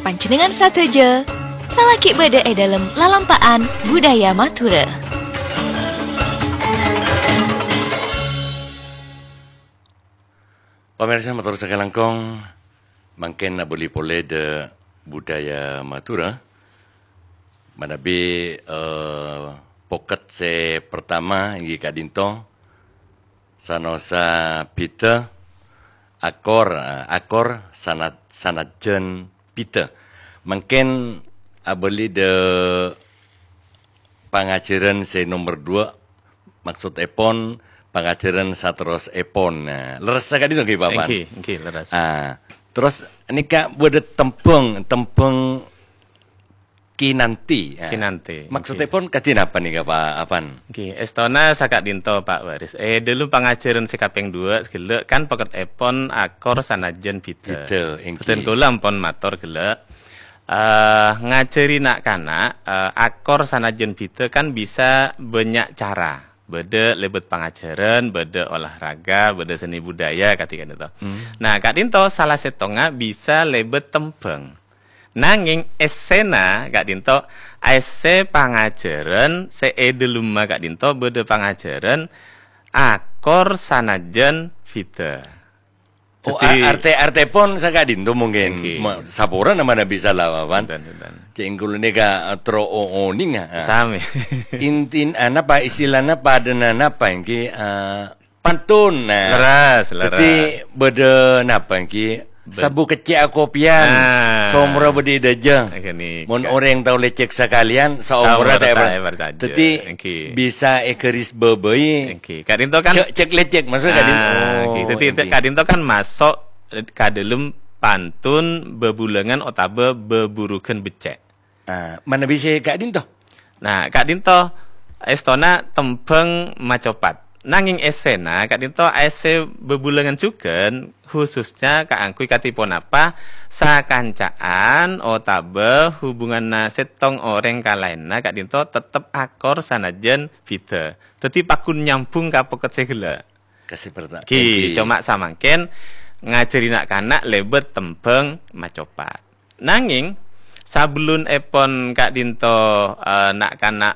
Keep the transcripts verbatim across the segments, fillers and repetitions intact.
Panjhennengngan sadhâjâ, salaghi bâdâ è dhâlem lalampa'an budaya Madhurâ. Pamirsa, mator sakalangkong, mangkèn abâli polè dâ' budaya Madhurâ. Manabi, eh, pokèt sè partama èngghi ka'dinto, sanosa bhidhâ, akor, eh, akor sanat-, sanajjhân bhidhâ. Mangkèn abâli dâ' pangajhârân sè nomer dua, maksodèpon pangajhârân saterrossèpon. Nah, lerres ka'dinto ngghi, Pak Pan? Èngghi, èngghi, lerres. Ah, terros nèka bâdâ tembhâng, tembhâng kinanti. Ah. Kinanti, èngghi. Maksodèpon kadhi napa nèka, Pak Apan? Èngghi, èstona saka'dinto, Pak Waris. È dhâlem pangajhârân sè kapèng dua ghellâ' kan pokètèpon akor sanajjhân bhidhâ. Bhidhâ, èngghi. Bhâdhân kaulâ ampon mator ghellâ'. Eh, ngajhâri na'-kana', eh, akor sanajjhân bhidhâ kan bisa bânnya' cara. Bâdâ lèbât pangajhârân, bâdâ olahraga, bâdâ seni budaya, kadhi ka'dinto. Hmm. Nah, ka'dinto sala sèttongnga bisa lèbât tembhâng. Nangèng èssèna ka'dinto, èssè pangajhârân sè è dhâlemma ka'dinto bâdâ pangajhârân akor sanajjhân bhidhâ. Oh, dhâddhi a-, arte-, artèpon saka'dinto mungkin. Èngghi. Ma-, saporana manabi sala, Pak Pan. Bhunten, bhunten. Cè' kaulâ nèka, eh, terro o-, onèng, ah. Sami. Intin-, ah, napa istilana padâna napa èngghi, eh, pantun. Nah. Lerres, lerres. Dhâddhi bâdâ napa èngghi? Bâ- Sabu keccè' akopèyan, Nah. saomorra bâdâ è dâjâ. Ghânèka. Mon orèng tao lècèk sakalèyan, saomorra Saomorra ta' ta' èpar-, èparcajâ. Dhâddhi Èngghi. bisa ègaris bâbâi. Èngghi. Ka'dinto kan Cè'-, cè' lècèk, maksud ka'dinto. Ah, Oh, èngghi. Dhâddhi èngghi. ka'dinto kan maso' ka dhâlem pantun bhâbhulângan otabâ bhâburughân beccè'. Ah, manabi sè ka'dinto? Nah, ka'dinto èstona tembhâng macopat. Nangèng èssèna ka'dinto èssè bhâbhulângan jhughân, khususnya kaangghuy kadhi ponapa sakanca'an otabâ hubunganna sèttong orèng ka laènna ka'dinto tettep akor sanajjhân bhidhâ. Dhâddhi pagghun nyambhung ka pokèt sè ghellâ'. Kasih perta-, Ghi, èngghi. coma samangkèn ngajhâri na'-kana' lèbât tembhâng macopat. Nangèng, sabellunèpon ka'dinto, eh, na'-kana',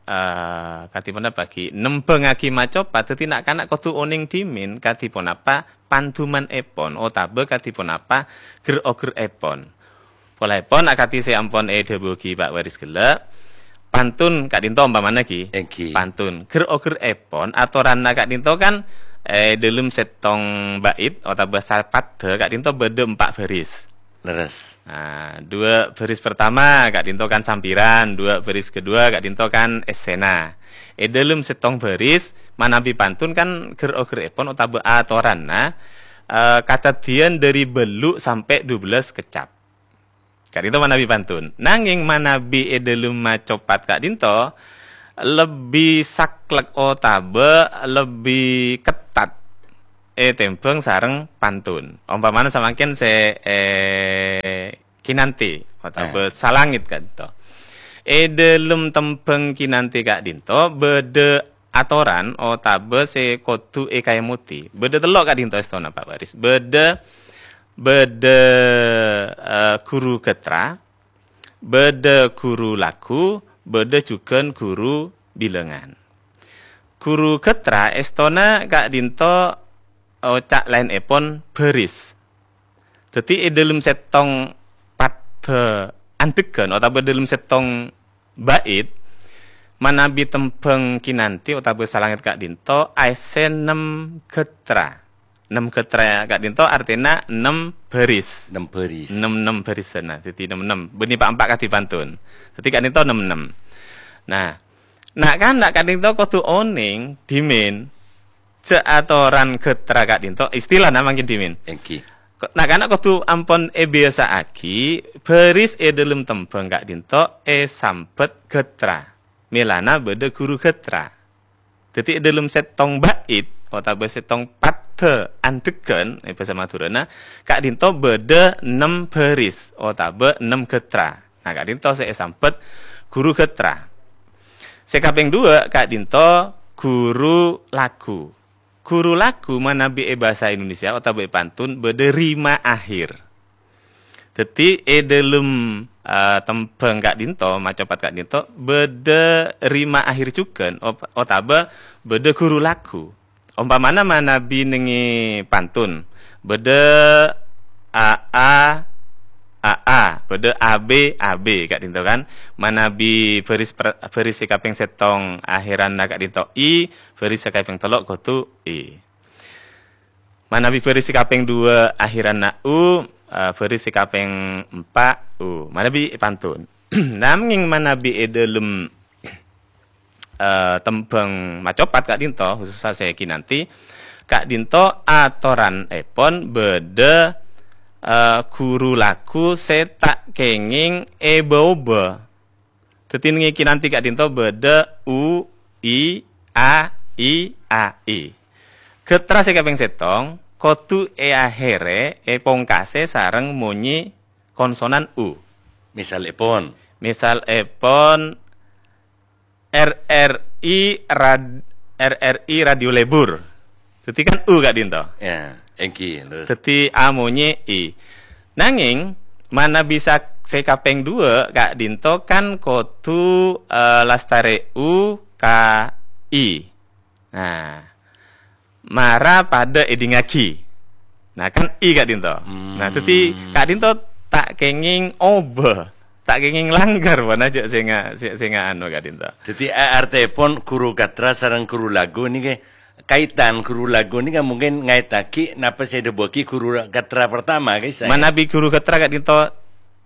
eh, kadhi ponapa ghi nembhângaghi macopat, dhâddhi na'-kana' kodhu onèng dhimèn kadhi ponapa pandumanèpon otabâ kadhi ponapa ger-ogerèpon. Polèpon akadhi sè ampon èdhâbuwaghi Pak Waris ghellâ', pantun ka'dinto ompamana ghi. Èngghi. Pantun. Ger-ogerèpon atoranna ka'dinto kan è dhâlem sèttong bait otabâ sapaddhâ ka'dinto bâdâ empa' baris. Lerres. Nah, dua baris pertama ka'dinto kan sampiran, dua baris kedua ka'dinto kan èssèna. È dhâlem sèttong baris, manabi pantun kan ger-ogerèpon otabâ atoranna, eh, kadhâddhiyân dhâri bâllu' sampè' dubellâs keccap. Ka'dinto manabi pantun. Nangèng manabi è dhâlem macopat ka'dinto, lebbi saklek otabâ lebbi kettat ètèmbhâng sareng pantun. Ompamana samangkèn sè, eh, kinanti otabâ Eh. salangit ka'dinto. È dhâlem tembhâng kinanti ka'dinto bâdâ atoran otabâ sè kodhu èkaèmodhi. Bâdâ tello' ka'dinto èstona, Pak Waris. Bâdâ, bâdâ, eh, ghuru gatra, bâdâ ghuru lagu, bâdâ jhughân ghuru bilângan. Ghuru gatra èstona ka'dinto oca' laènèpon baris. Dhâddhi è dhâlem sèttong paddhâ andhegghân otabâ dhâlem sèttong bait, manabi tembhâng kinanti otabâ salangit ka'dinto aèssè nem gatra. Nem gatra ka'dinto artèna nem baris. Nem baris. Nem-nem barisanna, dhâddhi nem-nem. Bânnè pa'-empa' kadhi pantun. Dhâddhi ka'dinto nem-nem. Nah, na'-kana' ka'dinto kodhu onèng dhimèn jhâ' atoran gatra ka'dinto, istilana mangkèn dhimèn. Èngghi. Ko-, na'-kana' kodhu ampon èbiyasa'aghi, baris è dhâlem tembhâng ka'dinto èsambhât gatra. Mèlana bâdâ ghuru gatra. Dhâddhi, è dhâlem sèttong bait otabâ sèttong paddhâ andhegghân è bhâsa Madhurâna, ka'dinto bâdâ nem baris otabâ nem gatra. Nah, ka'dinto sè èsambhât ghuru gatra. Sè kapèng dua, ka'dinto ghuru lagu. Ghuru lagu manabi è bhâsa Indonesia otabâ è pantun bâdâ rima akhir. Dhâddhi, è dhâlem, eh, tembhâng ka'dinto, macopat ka'dinto, bâdâ rima akhir jhughân, op-, otabâ bâdâ ghuru lagu. Ompamana manabi nèngè pantun, bâdâ A A, A A, bâdâ A B, A B ka'dinto kan. Manabi bhâris per-, bhâris sè kapèng sèttong akhèranna ka'dinto I, bhâris sè kapèng tello' kodhu I. Manabi bhâris sè kapèng duwâ' akhèranna U, eh, bhâris sè kapèng empa' U. Manabi èpantun. Nangèng manabi è dhâlem, eh, tembhâng macopat ka'dinto, khusussa sè kinanti, ka'dinto atoranèpon bâdâ, eh, ghuru lagu sè ta' kèngèng èbâ-obâ. Dhâddhi, nèngè kinanti ka'dinto bâdâ U, I, A, I, A, I. Ghâttra sè kapèng sèttong kodhu èakhèrè, èpongkasè sareng monyè konsonan U. Misalèpon? Misalèpon, R R I rad-, R R I Radio Lebur. Dhâddhi kan U ka'dinto. Ya, èngghi, lurus. Dhâddhi A monyè I. Nangèng, manabi sa-, sè kapèng duwâ' ka'dinto kan kodhu, eh, lastarè U ka I. Nah, mara padâ èdingngaghi. Nah, kan I ka'dinto. Nah, dhâddhi Hmm. ka'dinto ta' kèngèng obâ, ta' kèngèng langgar, pon ajâ sè nga-, sè, sè nga-, anu ka'dinto. Dhâddhi, eh, artèpon ghuru ghâttra sareng ghuru lagu nèkè kaitan, ghuru lagu nèka mungkin ngaitaghi napa sè èdhâbuwaghi ghuru ghâttra pertama, guys, ya? Manabi ghuru ghâttra ka'dinto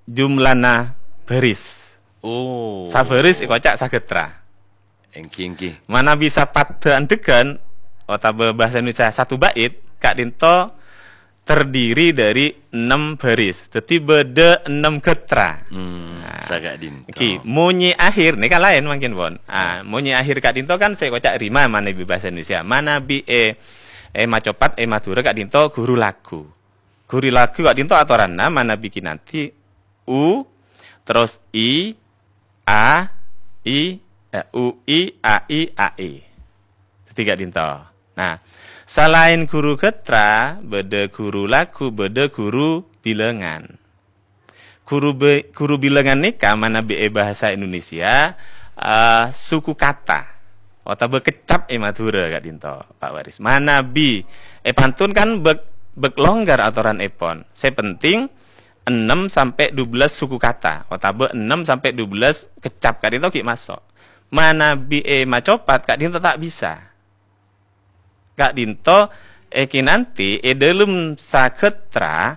jumlana bhâris. Oh. Sabhâris èkoca' saghâttra. Èngghi, èngghi. Manabi sapadhâ andhegghân, otabâ bhâsa Indonesia satu bait, ka'dinto terdiri dari ennem baris. Dhâddhi bâdâ ennem ghâttra. Hmm, Nah, saka'dinto. Èngghi, monyè akhir nèka laèn mangkèn, pon. Ah, monyè akhir ka'dinto kan sè èkoca' rima manabi bhâsa Indonesia. Manabi è, è macopat, è Madhurâ ka'dinto ghuru lagu. Ghuru lagu ka'dinto atoranna manabi kinanti U, terros I, A, I, eh, U, I, A, I, A, I. Dhâddhi ka'dinto. Nah, salaèn ghuru ghâttra, bâdâ ghuru lagu, bâdâ ghuru bilângan. Ghuru bi-, ghuru bilângan nèka manabi è bhâsa Indonesia, eh, suku kata otabâ kecap è Madhurâ ka'dinto, Pak Waris. Manabi è pantun kan bâk, bâk longgar atoranèpon. Sè penting, ennem sampè' dubellâs suku kata, otabâ ennem sampè' dubellâs kecap ka'dinto ghi' maso'. Manabi è macopat ka'dinto ta' bisa. Ka'dinto è kinanti è dhâlem saghâttra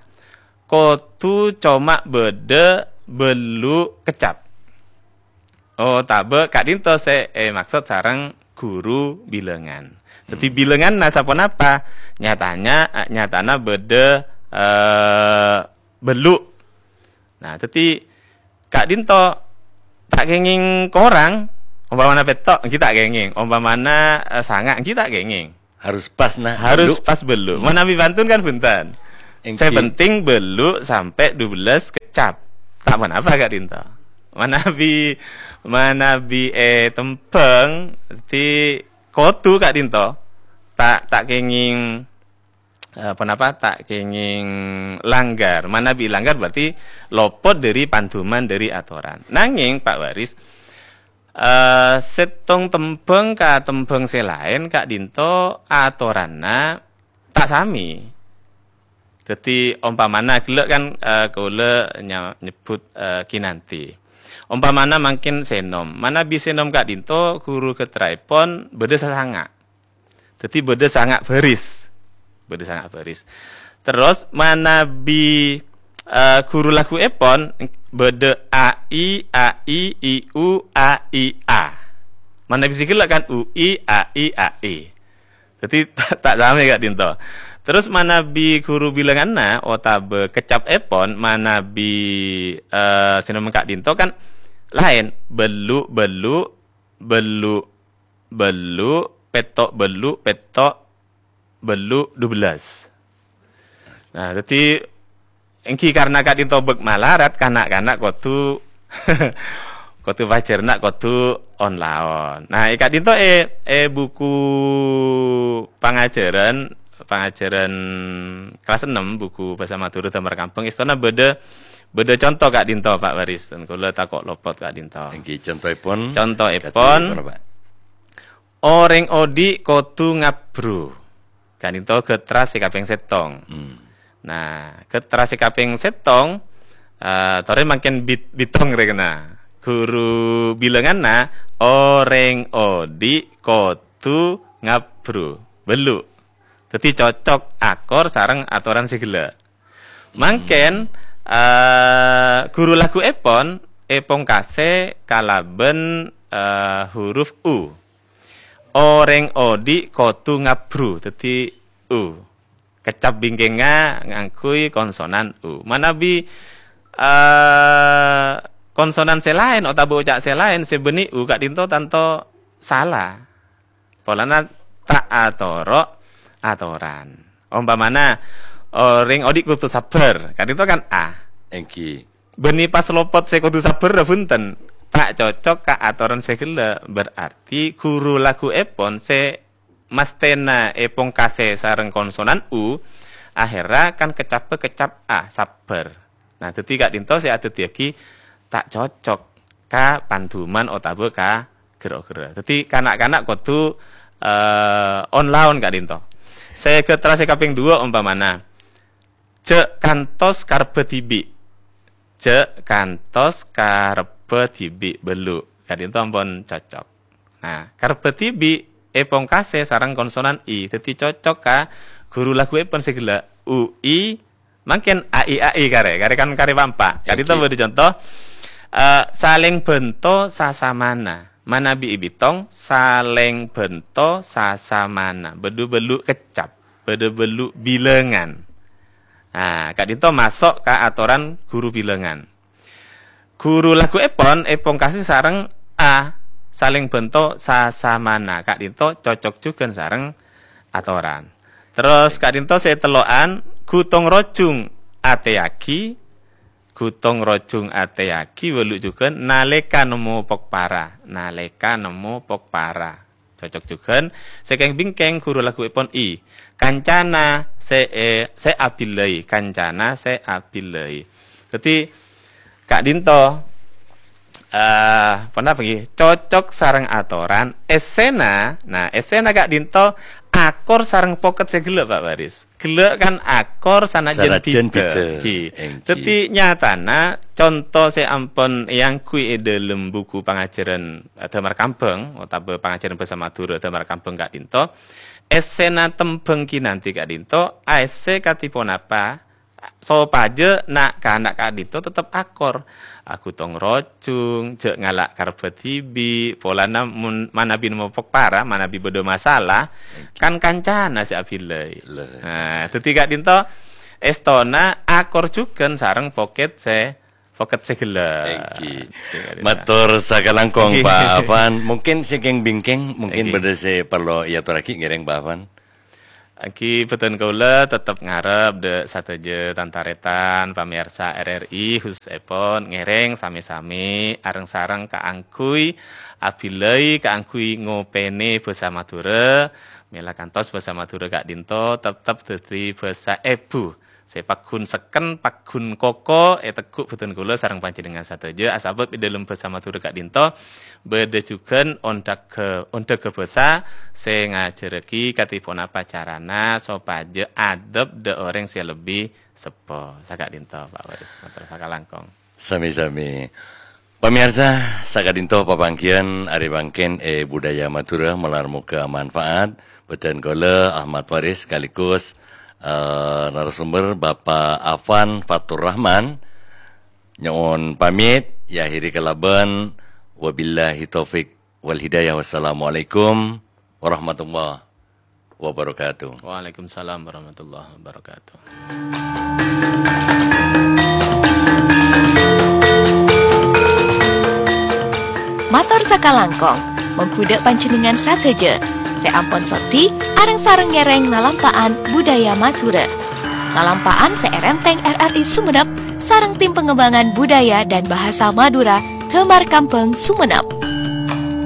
kodhu coma bâdâ bâllu' kecap. Otabâ ka'dinto sè èmaksod sareng ghuru bilângan. Dhâddhi Hmm. bilânganna saponapa? Nyatanya, nyatana bâdâ, eh, bâllu'. Nah, dhâddhi ka'dinto ta' kèngèng korang, ompamana pètto', èngghi ta' kèngèng. Ompamana, eh, sanga', èngghi ta' kèngèng. Harus pas, nah, Harus bâllu'. pas bâllu'. Hmm. Manabi pantun kan bhunten. Èngghi. Sè penting bâllu' sampè' dubellâs kecap. Ta' ponapa ka'dinto. Manabi, manabi è tembhâng, dhâddhi kodhu ka'dinto. Ta', ta' kèngèng, eh, ponapa? Ta' kèngèng langgar. Manabi langgar berarti lopot dhâri panduman, dhâri atoran. Nangèng, Pak Waris, Eh, sèttong tembhâng ka tembhâng sè laèn ka'dinto atoranna ta' samè. Dhâddhi, ompamana ghellâ' kan, eh, kaulâ nya-, nyebbhut, eh, kinanti. Ompamana mangkèn sènom. Manabi sènom ka'dinto ghuru ghâttraèpon bâdâ sasanga'. Dhâddhi bâdâ sanga' baris. Bâdâ sanga' baris. Terros manabi, eh, ghuru laguèpon bâdâ A I, A I, I U, A I, A. Manabi sè ghellâ' kan U I, A I, A I. Dhâddhi ta', ta' samè ka'dinto. Terros manabi ghuru bilânganna otabâ kecapèpon manabi, eh, sè nèmong ka'dinto kan laèn. Bâllu', bâllu', bâllu', bâllu', pètto', bâllu', pètto', bâllu', dubellâs. Nah, dhâddhi èngghi karna ka'dinto bâk malarat, kana'-kana' kodhu, kodhu pajhârna kodhu on-laon. Nah, è ka'dinto è, è buku pangajhârân, pangajhârân kelas ennem, buku Bhâsa Madhurâ Dâmar Kambhâng, èstona bâdâ Bâdâ conto ka'dinto, Pak Waris, dân kaulâ tako' lopot ka'dinto. Èngghi, contoèpon. Contoèpon, ka'dinto, Pak. Orèng odi' kodhu ngabbru. Ka'dinto ghâtra sè kapèng sèttong. Hmm. Nah, ghâtra sè kapèng sèttong, eh, torè mangkèn bit-, bâtong rè kèna. Ghuru bilânganna, orèng odi' kodhu ngabbru. Bâllu'. Dhâddhi cocok akor sareng atoran sè ghellâ'. Mangkèn, eh, ghuru lagghuèpon èpongkasè kalabân, eh, huruf U. Orèng odi' kodhu ngabbru, dhâddhi U. Keccap bingkèngnga ngangghuy konsonan U. Manabi, eh, konsonan sè laèn otabâ oca' sè laèn sè bânnè U ka'dinto tanto sala. Polana ta' atoro' atoran. Ompamana, orèng odi' kodhu sabbhâr, ka'dinto kan A. Èngghi. Bânnè pas lopot sè kodhu sabbhâr, bhunten. Ta' cocok ka atoran sè ghellâ'. Berarti ghuru lagghuèpon sè masthèna èpongkasè sareng konsonan U, akhèrra kan keccabhâ keccap A, sabbhâr. Nah, dhâddhi ka'dinto sè adhâddhiyâghi ta' cocok ka pandhuman otabâ ka ghâr-oghârrâ. Dhâddhi, kana'-kana' kodhu, eh, on-laon ka'dinto. Sè ghâtra sè kapèng duwâ' ompamana, "Jhâ' kantos karebbhâ dhibi'." "Jhâ' kantos karebbhâ dhibi'," bâllu'. Ka'dinto ampon cocok. Nah, karebbhâ dhibi' èpongkasè sareng konsonan I, dhâddhi cocok ka ghuru lagghuèpon sè ghellâ', U I, mangkèn A I A I karè, karè kan karè pampa. Ka'dinto bâdâ conto, eh, salèng bhânto sasamana. Manabi èbitong, salèng bhânto sasamana. Bâdâ bâllu' keccap, bâdâ bâllu' bilângan. Nah, ka'dinto maso' ka atoran ghuru bilângan. Ghuru lagghuèpon èpongkasè sareng A, salèng bhânto sasamana. Ka'dinto cocok jhughân sareng atoran. Terros ka'dinto sè tello'an, ghutong rojhung atèyaghi, ghutong rojhung atèyaghi bâllu' jhughân nalèka nemmo pokpara, nalèka nemmo pokpara. Cocok jhughân. Sè kèng-bingkèng ghuru lagghuèpon I. Kancana sè, eh, sè abillai. Kancana sè abillai. Dhâddhi, ka'dinto, eh, ponapa ghi? Cocok sareng atoran. Èssèna, nah, èssèna ka'dinto akor sareng pokèt sè ghellâ', Pak Waris. Ghellâ' kan akor sanajjân bhidhâ. Sanajjân bhidhâ. Ghi. Èngghi. Dhâddhi, nyatana conto sè ampon èangghuy è dhâlem buku pangajhârân, eh, Damar Kambhâng otabâ pangajhârân bhâsa Madhurâ Damar Kambhâng ka'dinto, èssèna tembhâng ghi nanti ka'dinto, aèssè kadhi ponapa, sopajâ na'-kana' ka'dinto tettep akor. Aghutong rojhung, jhâ' ngala' karebbhâ dhibi', polana mon manabi nemmo pokpara, manabi bâdâ masalah, kan kancana sè abillai. Lè. Nah, dhâddhi ka'dinto èstona akor jhughân sareng pokèt sè, pokèt sè ghellâ'. Èngghi. Mator sakalangkong, Èngghi. Pak Afan. Mungkin sè kèng-bingkèng, mungkin Èngghi. Bâdâ sè parlo èatorraghi ngèrèng, Pak Afan. Èngghi, bhâdhân kaulâ tettep ngarep dâ' sadhâjâ tan-tarètan pamèyarsa R R I, khususèpon ngèrèng samè-samè areng-sareng kaangghuy abillai, kaangghuy ngopènè bhâsa Madhurâ. Mèla kantos bhâsa Madhurâ ka'dinto tettep dhâddhi bhâsa èbhu sè pagghun sekken, pagghun koko ètegghu' bhâdhân kaulâ sareng panjhennengngan sadhâjâ, asabâb è dhâlem bhâsa Madhurâ ka'dinto bâdâ jhughân ondhâghâ, ondhâghâ bhâsa sè ngajhârraghi kadhi ponapa carana sopajâ adhep dâ' orèng sè lebbi seppo. Saka'dinto, Pak Waris, mator sakalangkong. Sami-sami. Pamèyarsa, saka'dinto papangghiyân arè mangkèn è Budaya Madhurâ, malar moghâ manfaat. Bhâdhân kaulâ Ahmad Waris sekaligus, eh, narasumber Bapak Afan Fatur Rahman. Nyo'on pamit, èakhiri kalabân wabillahi taufik wal hidayah. Wassalamualaikum warahmatullahi wabarakatuh. Waalaikumsalam warahmatullahi wabarakatuh. Mator sakalangkong, mongghu dâ' panjhennengngan sadhâjâ sè ampon soddhi areng-sareng ngèrèng lalampa'an budaya Madhurâ. Lalampa'an sè èrèntèng R R I Sumenep sareng Tim Pengembangan Budaya dan Bahasa Madura, Damar Kambhâng, Sumenep.